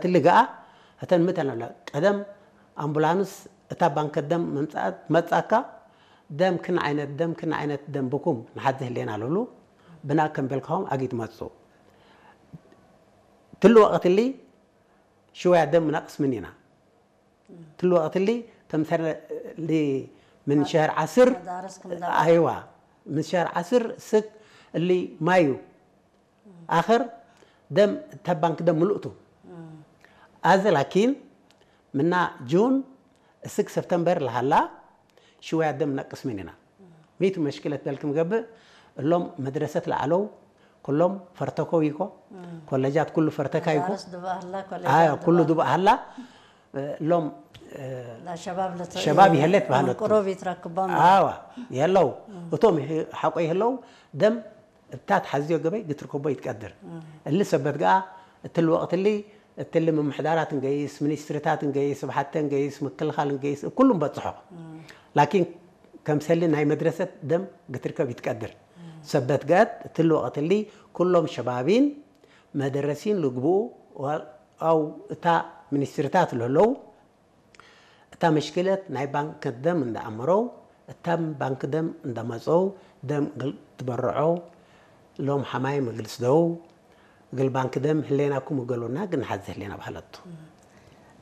ትልግኣ እተን ምተን ኣለ ቀደም ኣምቡላንስ እታ ባንክ ደም መምጻት መጻካ ደም ክን ዓይነት ደም ክን ዓይነት ደም ብኩም ንሓዚ ህሌና ልብሉ ብና ከም በልካሆም ኣጊት መጹ። ትልወ ቀትሊ ሽወያ ደም ነቅስ ምኒና ትልወ ቀትሊ ተምሰሊ ምን ሸህር ዓስር መዳረስ ክንዳ ኣይዋ ምን ሸህር ዓስር ስክ እሊ ማዩ ኣኸር ደም ተባንክ ደም ምሉእቱ ኣዘ ላኪን ምና ጁን እስክ ሰፕተምበር ለሃላ ሽወያ ደም ነቅስ ምን ኢና ሚቱ መሽክለት በልክም ገብእ እሎም መድረሰት ለዓለው ኩሎም ፈርተኮ ይኮ ኮለጃት ኩሉ ፈርተካ ይኮ ዳርስ ድባህላ ኮሌጅ ኣዮ ኩሉ ድባህላ እሎም ላ ሸባብ ለተ ሸባብ ይሄለት ባህለቱ ቁሩብ ይትረክቦም ኣዋ የለው እቶም ሓቆ ይህለው ደም እብታት ሓዝዮ ገበይ ግትርከቦ ይትቀድር እሊ ሰበት ገኣ እትል ወቅትሊ እትል ምምሕዳራት እንገይስ ሚኒስትሪታት እንገይስ ብሓተ እንገይስ ምክልኻል እንገይስ ኩሉም በጽሖ ላኪን ከምሰሊ ናይ መድረሰት ደም ግትርከብ ይትቀድር ሰበት ገአት እትል ወቅትሊ ኩሎም ሸባቢን መደረሲን ልግብኡ ኣው እታ ሚኒስትሪታት ለለው እታ መሽክለት ናይ ባንክ ደም እንዳኣመረው እታ ባንክ ደም እንዳመፀው ደም ግል ትበርዖ ሎም ሓማይ መግልስ ደው ግል ባንክ ደም ህሌናኩም እገሉና ግን ሓዚ ህሌና ባህለቱ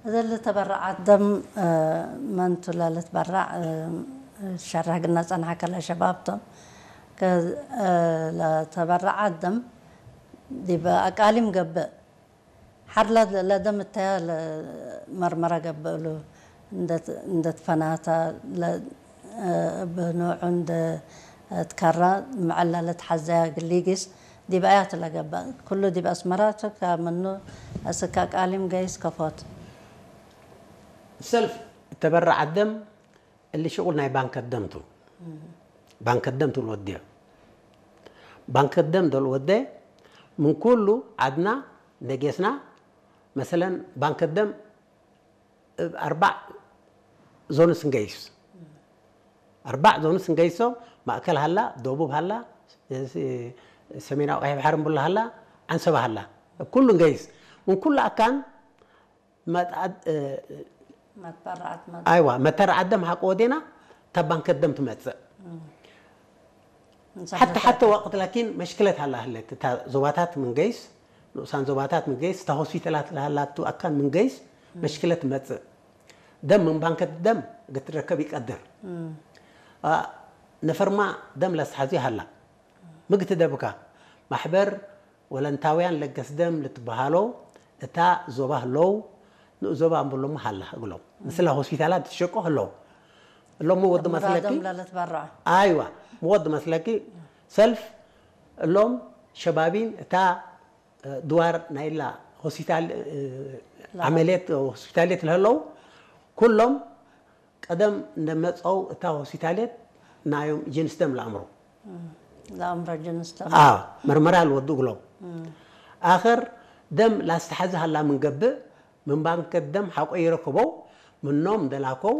እዘ ለተበረዓት ደም መን ቱላ ለትበራዕ ሸራህ ግና ጸንሐ ከለ ሸባብቶም ለተበረዓት ደም ዲበ ኣቃሊም ገብእ ሓር ለደም እተያ መርመራ ገብእሉ እንደትፈናታ ብኖዑ እንደ ትከራ ምዐላ ለትሓዘያ ግሊጊስ ዲብ ኣያት ለገበእ ኩሉ ዲብ ኣስመራ ቱ ካብ ምኑ እስካ ቃሊም ገይስ ከፎት ሰልፍ እተበረዓት ደም እሊ ሽቁል ናይ ባንከት ደምቱ ባንከት ደምቱ ልወድዮ ባንከት ደም ዶ ልወደ ምን ኩሉ ዓድና ደጌስና መሰለን ባንከት ደም እብ ኣርባዕ ዞንስ እንገይስ ኣርባዕ ዞንስ እንገይሶ ማእከል ሃላ ደቡብ ሃላ ሰሜናዊ ቀይሕ ባሕር እንብሎ ሃላ ዓንሰባ ሃላ ኩሉ እንገይስ ምን ኩሉ ኣካን ኣይዋ መተር ዓደም ሓቂ ወዴና እታ ባንከት ደም ትመፅእ ሓተ ሓተ ወቅት ላኪን መሽክለት ሃላ ህለት እታ ዞባታት ምንገይስ ንኡሳን ዞባታት ምንገይስ እታ ሆስፒታላት ለሃላቱ ኣካን ምንገይስ መሽክለት ትመፅእ ደም ምን ባንከት ደም ግትረከብ ይቀድር ነፈርማ ደም ለስሓዚ ሃላ ምግቲ ደብካ ማሕበር ወለንታውያን ለገስ ደም ልትበሃሎ እታ ዞባ ህለው ንኡ ዞባ እንብሎሞ ሃላ እግሎም ምስላ ሆስፒታላት ትሸቆ ህለው እሎሞ ወዲ መስለኪ ኣይዋ ወዲ መስለኪ ሰልፍ እሎም ሸባቢን እታ ድዋር ናይላ ሆስፒታል ዓመልየት ሆስፒታልየት ለህለው ኩሎም ቀደም እንደመፀው እታ ሆስፒታልየት ናዮም ጅንስ ደም ለኣምሮ ለኣምሮ ጅንስ ደም መርመራ ልወዱ እግሎም ኣኸር ደም ላስተሓዚ ሃላ ምንገብእ ምን ባንከት ደም ሓቆ ይረክበው ምኖም ደላከው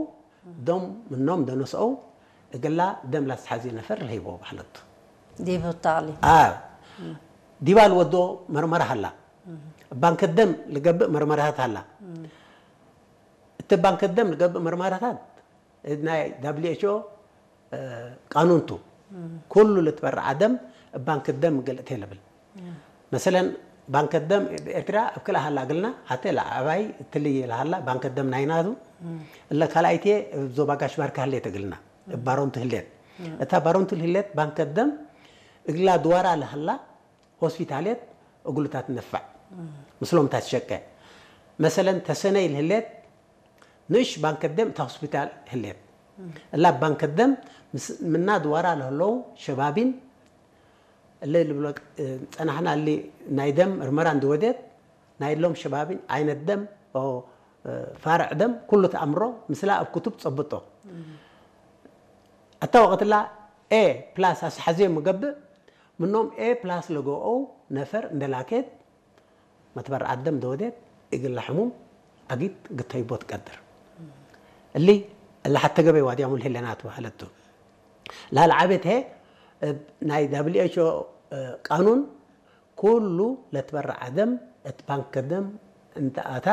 ደም ምኖም ደነስአው እግላ ደም ላስተሓዚ ነፈር ለሂበው ባሕለቱ ዲብ ታዕሊ ዲባ ልወዶ መርመራ ሃላ ባንከት ደም ልገብእ መርመራታት ሃላ እቲ ባንክ ደም ዝገብእ መርመራታት ናይ WHO ቃኑንቱ ኩሉ ልትበርዓ ደም ባንክ ደም ገልእተ ልብል መሰለን ባንክ ደም ኤርትራ ኣብ ክልኣ ሃላ ግልና ሓተ ለዓባይ ትልይ ለሃላ ባንክ ደም ናይናቱ እለ ካልኣይቴ ዞባ ጋሽ ባርካ ህሌት እግልና ባሮንት ህሌት እታ ባሮንት ህሌት ባንክ ደም እግላ ድዋራ ለሃላ ሆስፒታሌት እግሉታት ነፋዕ ምስሎም ታትሸቀ መሰለን ተሰነይ ልህሌት ንእሽ ባንክ ደም እታ ሆስፒታል ህሌት እላ ባንክ ደም ምና ድዋራ ለህለው ሸባቢን እለ ልብሎ ጸናሕና እሊ ናይ ደም ምርመራ እንድወዴት ናይ ሎም ሸባቢን ዓይነት ደም ፋርዕ ደም ኩሉ ተኣምሮ ምስላ ኣብ ክቱብ ጸብጦ ኣታ ወቐትላ ኤ ፕላስ ኣስሓዝዮ ምገብእ ምኖም ኤ ፕላስ ለገኦ ነፈር እንደላኬት መትበርዓት ደም ደወዴት እግል ለሕሙም ኣጊት ግተይቦ ትቀድር። እሊ እለ ሐተ ገበይ ዋድያሙ ልህሌናት በሀለቱ። ላልዓቤት ሄ እብ ናይ ዳብሊው ኤች ኦ ቃኑን ኩሉ ለትበርዓ ደም እት ባንክ ደም እንተ ኣታ